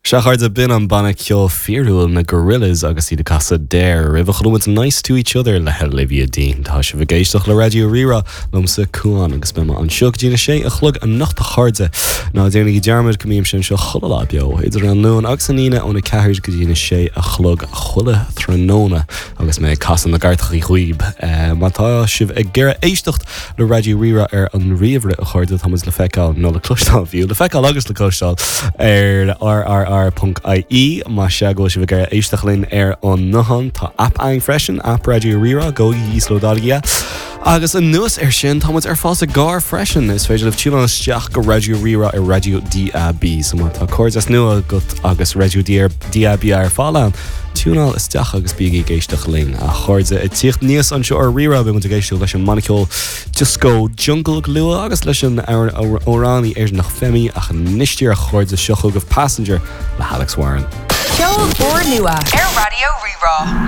Sea a chairde, b'in an banna ceoil fíorúil na Gorillaz agus iad ag casadh Dare roimh a chuala muid Nice to Each Other le Olivia Dean. Tá sibh ag éisteacht le Raidió Rí-Rá liomsa Cuán agus beidh mé anseo go dtí na sé a chlog anocht a chairde. Ná déanaigí dearmad go mbímse anseo chuile lá beo idir an Luan agus an Aoine óna 4 go dtí na sé a chlog chuile tráthnóna agus mé ag casadh na gcairteachaí dhaoib. Má tá sibh ag iarraidh éisteacht le Raidió Rí-Rá ar an ríomhaire, a chairde, tá muid le feiceáil, nó le cloisteáil fiú, le feiceáil agus le cloisteáil ar rrr.ie. Más ea go bhfuil sibh ag iarraidh éisteacht linn ar an nguthán, tá aip againn freisin, aip Raidió Rí-Rá, gabhaigí íoslódálaigí é. Agus anuas air sin, tá muid ar fáil sa gcarr freisin. Is féidir libh tiúnáil isteach go Raidió Rí-Rá ar Raidió DAB. So má tá cairdeas nua agat agus Raidió DAB ar fáil ann, Tiúnáil isteach agus bígí ag éisteacht linn, a chairde. Ag tíocht aníos anseo ar Rí-Rá, beidh muid ag éisteacht leis an mbanna ceoil dioscó Jungle go luath agus leis an amhránaí Éireannach Femi ach anois díreach a chairde, seo chugaibh Passenger le hAlex Warren. Ceol úrnua ar Raidió Rí-Rá.